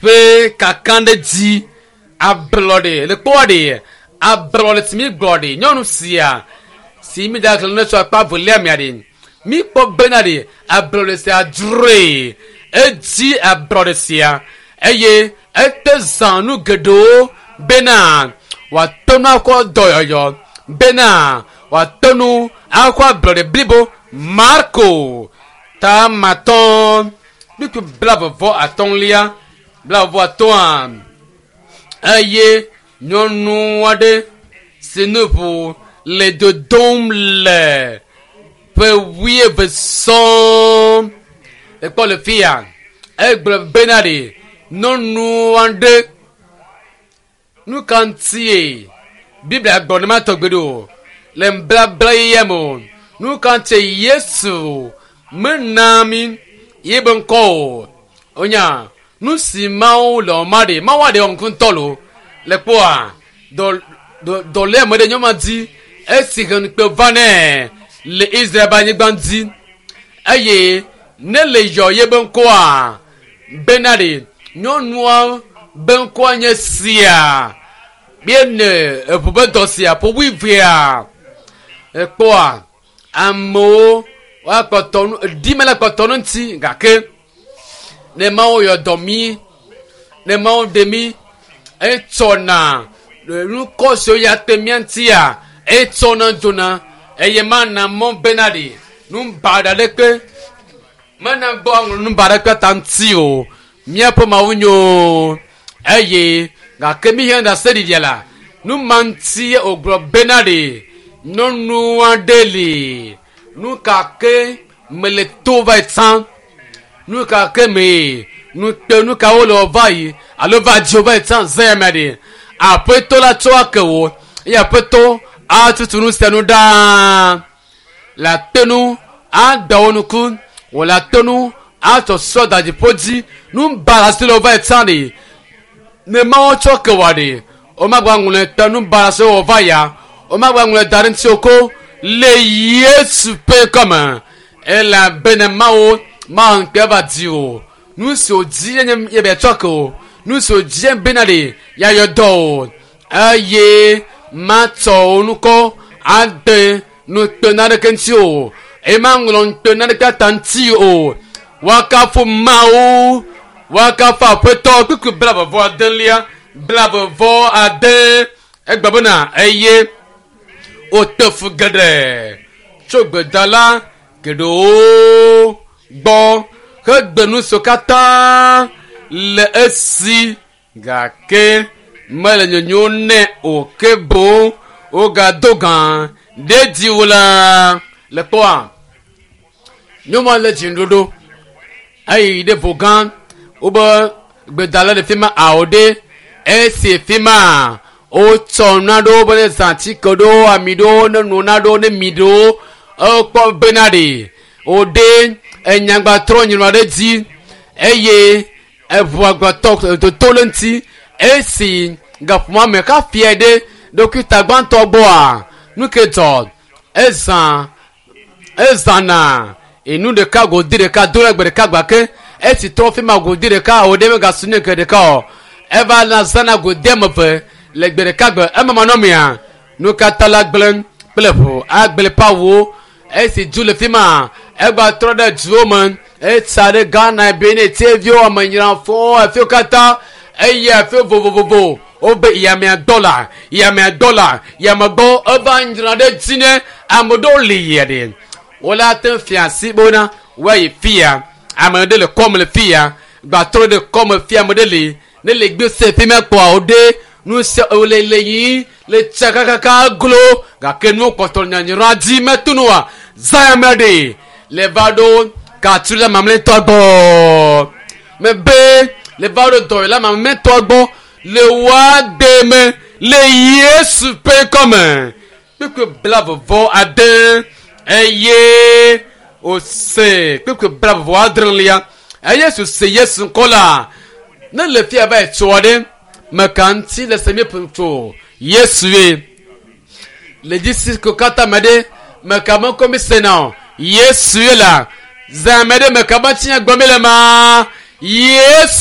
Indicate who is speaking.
Speaker 1: Ƒe kakaɖedzi ablɔɖe le kpɔa ɖe ablɔɖe si mi gblɔ ɖe nyɔnu sia si mi da xlẽ tso akpa velia mia ɖe mi kpɔ bena ɖe ablɔɖe sia dzroe edzi ablɔɖe sia eye ete zã nu geɖewo bena wòate nu akɔ dɔyɔyɔ bena wòate nu akɔ ablɔɖe blibo Marko tamatɔ kpukpui blavevɔ atɔ̃lia blavevɔ atɔ̃a eye nyɔnu aɖe si nu ʋu le dodom le ƒe wuieve sɔŋ ekpɔ le fia egblɔ bena ɖe nyɔnu aɖe nu ka ŋutie Biblia gblɔ ne ma tɔgbe ɖo le nblabla yeyea me o nu ka ŋutie Yesu mena mi yebe ŋkɔ o wonya nu si Mawu le wɔma ɖe Mawu aɖe wɔ ŋku ŋutɔ lo le kpɔa dɔ dɔ dɔléame ɖe nyɔnua dzi esi he ŋukpe va nɛ le Israel be anyigba dzi eye ne le yɔ yebe ŋkɔa bena ɖe nyɔnua be ŋkɔa nye sia míene eʋu be dɔ sia ƒo wuievea ekpɔa amewo woakpɔtɔ nu ɖi mele kpɔtɔ nu ŋuti gake ne Mawu yɔ dɔ mí ne Mawu ɖe mí etsɔna nukɔ siwo ya te mía ŋutia etsɔna dzona eye mana mɔ bena ɖe nu baɖa ɖeke mena gbɔ aŋlɔ nu baɖa ɖeke ta ŋuti o míaƒe Mawu nyo eye gake mi hiã ɖase ɖiɖia la nu ma ŋuti wògblɔ bena ɖe nyɔnu aɖe li nu ka ke mele to va yi tsã nu ka ke me nu kpe nu kawo le va yi alo va dzi va yi tsã zã me ɖe aƒetɔ la tsɔ ake wo eye aƒetɔ atutu nu sia nu ɖaa le ate nu ada wo nuku wòle ate nu atsɔ sɔ da dziƒo dzi nu baɖa si le va yi tsã ɖe ne mawo tsɔ ke wɔ ɖe womagba ŋlɔe ta nu baɖa si wɔ va ya womagba ŋlɔe da ɖe ŋuti o ko le Yesu ƒe ŋkɔme elabena Mawu mawu ŋkpe va di o nu si wòdi ye nye ye be tsɔ ke o nu si wòdi ye bena ɖe yeayɔ dɔ o eye matsɔ wo nukɔ ade nukpe naneke ŋuti o eye maŋlɔ nukpe naneke ta ŋuti o woakafu Mawu woakafu aƒetɔ kpukpui blavevɔ adelia blavevɔ ade egbe bena eye wote fu geɖe tso gbedala geɖewo gbɔ hegbe nu siwo katã le esi gake mele nyonyo nɛ o ke boŋ wogado gã ɖe dzi wo la le kpɔa nyɔnua le dziɖoɖo eyi ɖe vo gã wobe gbedala le fi ma awo ɖe esi fi ma wotsɔ naɖewo be ne zã atike ɖewo ami ɖewo ne no naɖewo ne mi ɖewo ekpɔ bena ɖe woɖe enyagba trɔ nyinɔ ɖe dzi eye eʋu agbatɔ toto le ŋuti esi gaƒoƒoa me kafia ɖe ɖokuita gbãtɔ gbɔa nu ke dzɔ ezã ezãna enu ɖeka godi ɖeka do ɖe gbe ɖeka gba ke esi trɔ fi ma godi ɖeka o ɖe megasu ne ke ɖeka o eva na zãna godi ame eve le gbe ɖeka gbe ema manɔmea nu katã la gblẽ kple ʋu agble pawo esi du le fi ma egba trɔ ɖe duwo me etsa ɖe Ghana Benin Tieviwo amenyrafo afiwo katã eye afiwo vovovovo wobe yamea gbɔ la yamea gbɔ la yame gbɔ eva nyra ɖe dzi ne ame ɖewo li yia ɖe wole ate fia asi bena woayi fia ame ɖe le kɔme le fia gbatrɔ ɖe kɔme fia ame ɖe li ne le gbe se fi ma kpɔa wo ɖe nu sia wole le yi le tsa kakaka glo gake nuwo kpɔtɔ nyanyra dzi metu nua zã ame ɖe le va ɖo katsu la mamlɛtɔ gbɔ mebe le va ɖo dɔyɔla mamlɛtɔ gbɔ le woa de me le Yesu ƒe ŋkɔme kpukpui blavevɔ ade eye wòse kpukpui blavevɔ adrelia eye Yesu se Yesu ŋkɔ la ne le fia va yi tsoa ɖe meka ŋuti le se mi tso Yesu ye le dzisi ko katã me ɖe meka me ŋkɔ mi sena o Yesu ye la zã me ɖe meka me ŋuti nya gblɔm mi le ma Yesu.